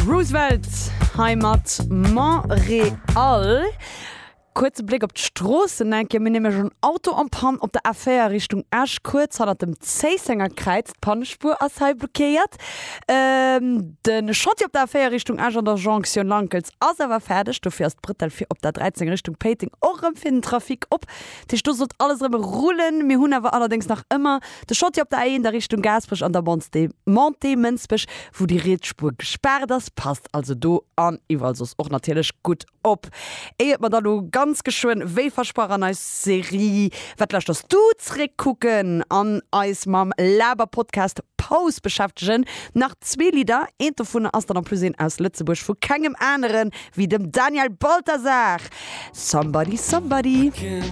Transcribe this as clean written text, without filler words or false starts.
Roosevelt hei mat Montréal. Kuerze Bléck op d'Stroossen enke. Mir hunn nämlech en Auto en Panne op der A4 Richtung Esch, kuerz hannert dem Zéissenger Kräiz. D'Pannespuer ass hei blockéiert. De Chantier op der A4 Richtung Esch an der Jonktioun Lankels ass awer fäerdeg. Dofir ass d'Brëttel fir op der 13 Richtung Péiteng och erëm fir den Trafic op. Dat heescht, do sollt alles erëm rullen. Mir hunn awer allerdéngs nach ëmmer de Chantier op der A1 a Richtung Gaasperech an der Montée Mënsbech, wou déi riets Spuer gespaart ass. Passt also do an iwwerall soss och natierlech gutt Op, éiert mer da lo ganz geschwënn, wéi versprach an eis Serie Wat lauschters du? zréckkucken an eis mam Laber-Podcast Paus beschäftegen, nach zwee Lidder. Eent dovunner ass dann en plus een aus Lëtzebuerg vu kengem anere wéi dem Daniel Balthasar, Somebody Somebody.